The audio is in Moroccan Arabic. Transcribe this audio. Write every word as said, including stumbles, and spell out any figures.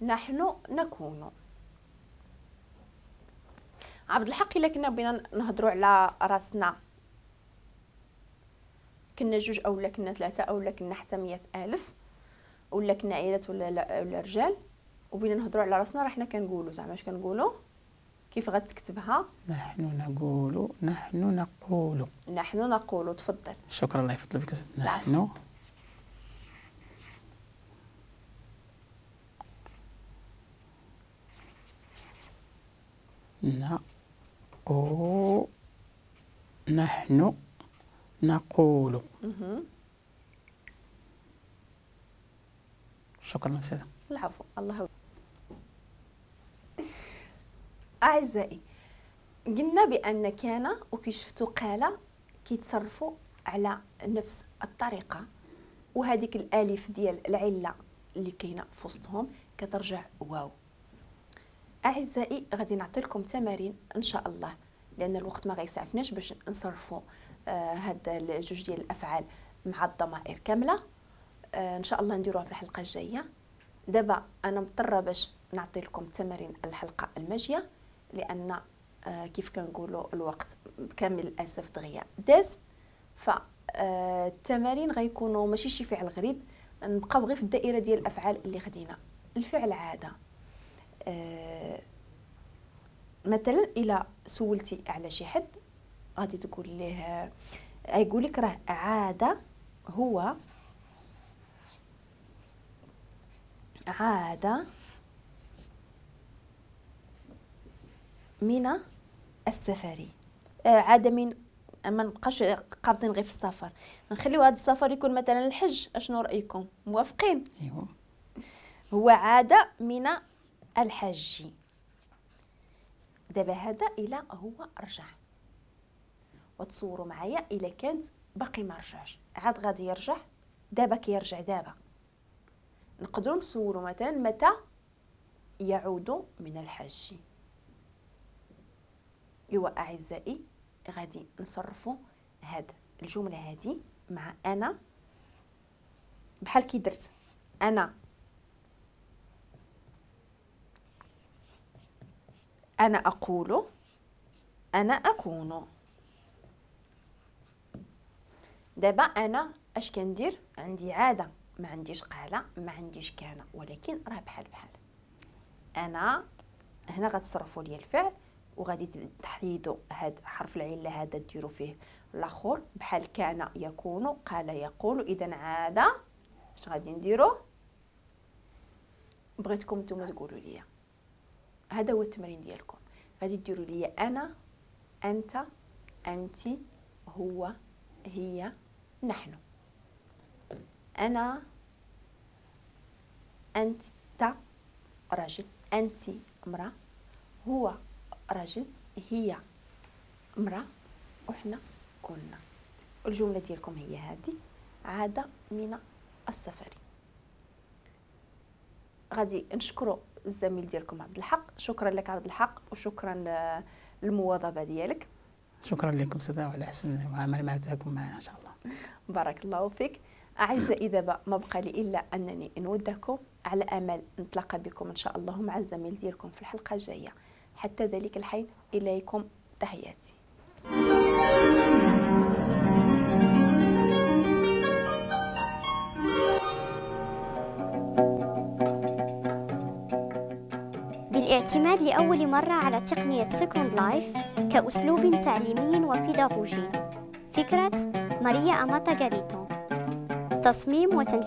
نحن نكون. عبد الحق الا كنا بغينا نهضروا على راسنا كنا جوج اولا كنا ثلاثة اولا كنا حتى مية الف ولا كنا عائلات ولا لا ولا رجال، وبغينا نهضروا على راسنا راه حنا كنقولوا زعما اش كنقولوا؟ كيف غتكتبها؟ نحن نقول، نحن نقول، نحن نقول. تفضل. شكرا، الله يفضل بك. نحن نقول، نحن نقول. شكرا أستاذة. العفو. الله. أعزائي قلنا بأن كان وكي شفتوا قال كيتصرفوا على نفس الطريقة، وهذيك الألف ديال العلة اللي كاينة في وسطهم كترجع واو. أعزائي غادي نعطي لكم تمارين إن شاء الله، لأن الوقت ما غيسعفناش باش نصرفوا آه هاد الجوج ديال الأفعال مع الضمائر كاملة. آه إن شاء الله نديروها في الحلقة الجاية. دابا أنا مضطرة باش نعطي لكم تمارين الحلقة الماجية، لأن آه كيف كنقولوا الوقت بكامل الأسف دغيا داز، فالتمارين غيكونوا ماشي شي فعل غريب، نبقاو غير في الدائرة ديال الأفعال اللي خدينا. الفعل عادة، آه مثلا إلا سولتي على شي حد غادي تقول ليه، غيقول لك راه عادة هو عادة من السفر، عادة من، ما نبقاش قابضين غير في السفر، نخليو هذا السفر يكون مثلا الحج. اشنو رايكم؟ موافقين؟ ايوا هو عادة من الحج. دابا هذا الى هو رجع، وتصوروا معايا الى كانت باقي ما رجعش، عاد غادي يرجع، دابا كيرجع. دابا نقدروا نصوروا مثلا متى يعود من الحج. ايوا اعزائي غادي نصرفوا هاد الجملة هادي مع انا، بحال كي درت انا، انا اقول، انا اكون. دابا انا اش كندير؟ عندي عادة، ما عنديش قاله، ما عنديش كان، ولكن راه بحال بحال. انا هنا غتصرفوا لي الفعل وغادي تحيدوا هاد حرف العلة هذا ديروا فيه الاخر، بحال كان يكون، قال يقول. اذا عادة اش غادي نديروا؟ بغيتكم نتوما تقولوا لي. هذا هو التمرين ديالكم، غادي ديروا لي انا، انت، انت، هو، هي، نحن. انا، انت رجل، انت امراة، هو رجل، هي امراة، وحنا كنا. الجملة ديالكم هي هذه، عادة من السفر. غادي نشكروا الزميل ديالكم عبد الحق. شكرا لك عبد الحق، وشكرا للمواظبه ديالك. شكرا لكم سيدة وعلى حسن المعاملة معكم معنا ان شاء الله. بارك الله فيك. اعزائي دابا ما بقى لي الا انني نودعكم على امل نتلاقى بكم ان شاء الله مع الزميل ديالكم في الحلقة الجاية. حتى ذلك الحين اليكم تحياتي. بالاعتماد لأول مرة على تقنية Second Life كأسلوب تعليمي وبيداغوجي. فكرة ماريا أماتا غاريتو. تصميم وتنفيذ